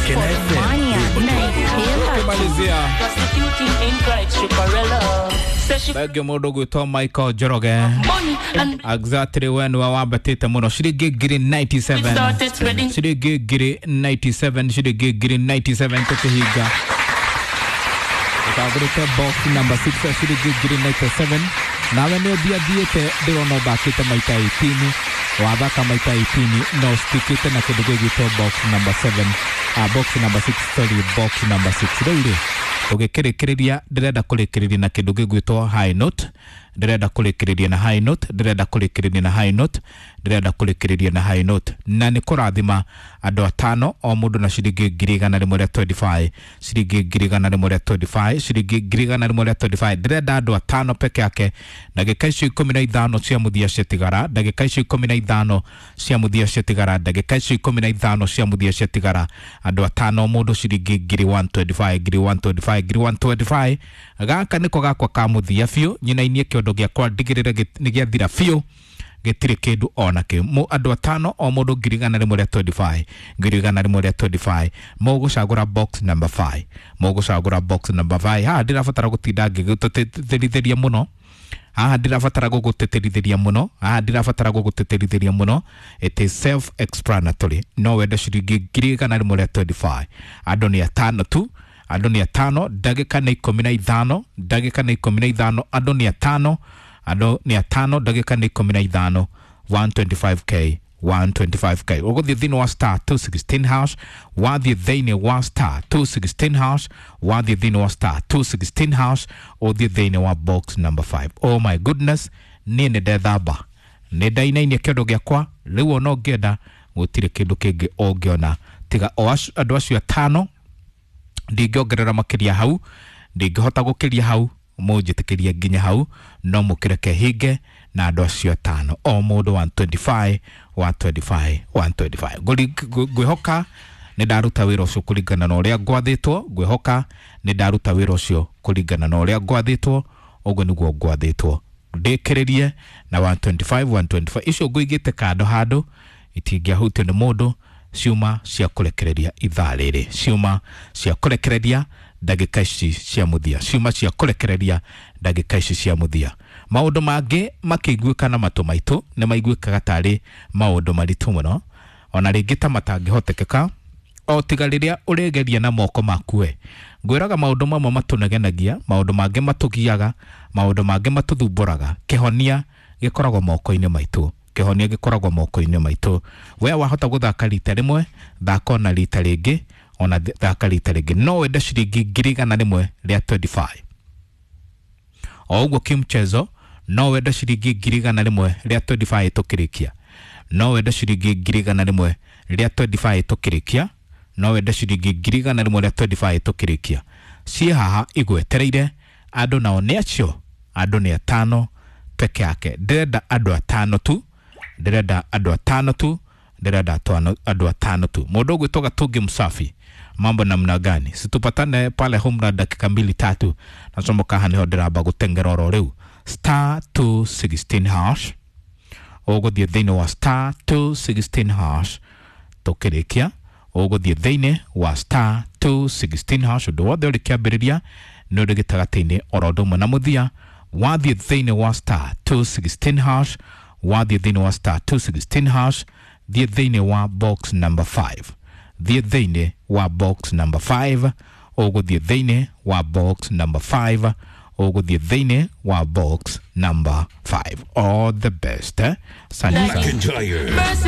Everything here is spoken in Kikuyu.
Kena FM. Tukimalizia thengio mũndũ gwĩtwo Michael Njoroge, exactly we nĩwe wambatĩte mũno, ciringi ngiri 97, ciringi ngiri 97, ciringi ngiri 97. Tũkĩhinga ũtagũrĩte box number 6 ciringi ngiri 97, nawe nĩ ũthiathiĩte, ndĩrona ũthakĩte maita 18, wathaka maita 18 no ũstikĩte na kĩndũ gĩgwĩtwo box number 7, box number 6, sorry, box number 6. Rĩu rĩ, tũgĩkĩrĩkĩrĩria, ndĩrenda kũrĩkĩrĩria na kĩndũ gĩgwĩtwo high note, ndĩrenda kũrĩkĩrĩria na high note, ndĩrenda kũrĩkĩrĩria na high note, ndĩrenda kũrĩkĩrĩria na high note, na nĩ kũrathima andũ atano, o mũndũ na ciringi 125,000, ciringi 125,000, ciringi 125,000. Ndĩrenda andũ atano peke yake. Ndagĩka icio 15 cia mũthia ciatigara, ndagĩka icio 15 cia mũthia ciatigara, ndagĩka icio 15 cia mũthia ciatigara, andũ atano, mũndũ ciringi ngiri 125, ngiri 125, ngiri 125. Gaka nĩko gakwa ka mũthia biũ, nyinainie kĩondo gĩakwa, ndigĩrĩre nĩ gĩathira biũ, gĩtirĩ kĩndũ ona kĩ. Andũ atano, o mũndũ 125,000, 125,000. Mũgũcagũra box number 5, mũgũcagũra box number 5. Haha ndĩrabatara gũtinda ngĩgũtĩtĩrithĩria mũno, haha ndĩrabatara gũgũtĩtĩrithĩria mũno, haha ndĩrabatara gũgũtĩtĩrithĩria mũno. It is self explanatory. No wende ciringi 125,000. Andũ nĩ atano tu, andũ nĩ atano, ndagĩka nĩ 15, ndagĩka nĩ 15, andũ nĩ atano, andũ nĩ atano, ndagĩka nĩ 15, 125K, 125K. Ũgũthiĩ thĩinĩ wa star 216 hash, wathiĩ thĩinĩ wa star 216 hash, wathiĩ thĩinĩ wa star 216 hash, ũthiĩ thĩinĩ wa box number 5. Oh my goodness, niĩ nĩ ndethamba, nĩ ndainainia kĩondo gĩakwa rĩu, ona ũngĩenda gũtirĩ kĩndũ kĩngĩ ũngĩona tiga o andũ acio atano. Ndingĩongerera makĩria hau, ndingĩhota gũkĩria hau, mũnjĩtĩkĩrie nginya hau, no mũkĩreke hinge na andũ acio atano, o mũndũ 125, 125, 125. Ngwĩhoka nĩ ndaruta wĩra ũcio kũringana na ũrĩa ngwathĩtwo, ngwĩhoka nĩ ndaruta wĩra ũcio kũringana na ũrĩa ngwathĩtwo, ũguo nĩguo ngwathĩtwo ndĩkĩrĩrie na 125, 125. Icio ngũigĩte kando handũ itingĩahutio nĩ mũndũ, ciuma cia kũrekereria ithaa rĩrĩ, ciuma cia kũrekereria ndagĩka ici cia mũthia, ciuma cia kũrekereria ndagĩka ici cia mũthia. Maũndũ mangĩ makĩiguĩka na matũ maitũ nĩ maiguĩkaga tarĩ maũndũ maritũ mũno, ona rĩngĩ ta matangĩhotekeka, o tiga rĩrĩa ũrĩgeria na moko maku we. Ngwĩraga maũndũ mamwe matũnegenagia, maũndũ mangĩ matũgiaga, maũndũ mangĩ matũthumbũraga, kĩhonia gĩkoragwo moko-inĩ maitũ, kĩhonia gĩkoragwo moko-inĩ maitũ. We wahota gũthaka rita rĩmwe, thaka ona rita rĩngĩ, ona thaka rita rĩngĩ. No wende ciringi 125,000, o ũguo kimchezo. No wende ciringi 125,000 tũkĩrĩkia, no wende ciringi 125,000 tũkĩrĩkia, no wende ciringi 125,000 tũkĩrĩkia. Ciĩ haha igwetereire andũ, nao nĩ acio, andũ nĩ atano peke yake. Ndĩrenda andũ atano tu, ndĩrenda andũ atano tu, ndĩrenda andũ atano tu. Mũndũ ũgwĩtwo Gatungi Msafi, mambo namna gani? Situpatane pale Homeland dakika mbili tatu, nacomoka haha nĩho ndĩramba gũteng'era oro rĩu. Star 216 hash, ũgũthiĩ thĩinĩ wa star 216 hash. Tũkĩrĩkia, ũgũthiĩ thĩinĩ wa star 216 hash. Ũndũ wothe ũrĩ kĩambĩrĩria nĩ ũrĩ gĩtagatĩ-inĩ oro ũndũ ũmwe na mũthia. Wathiĩ thĩinĩ wa star 216 hash, wathiĩ thĩinĩ wa star 216 hash, thiĩ thĩinĩ wa box number 5, thiĩ thĩinĩ wa box number 5, ũgũthiĩ thĩinĩ wa box number 5, ũgũthiĩ thĩinĩ wa box number 5. All the best, eh? Asante sana. McIntyre. Mercy.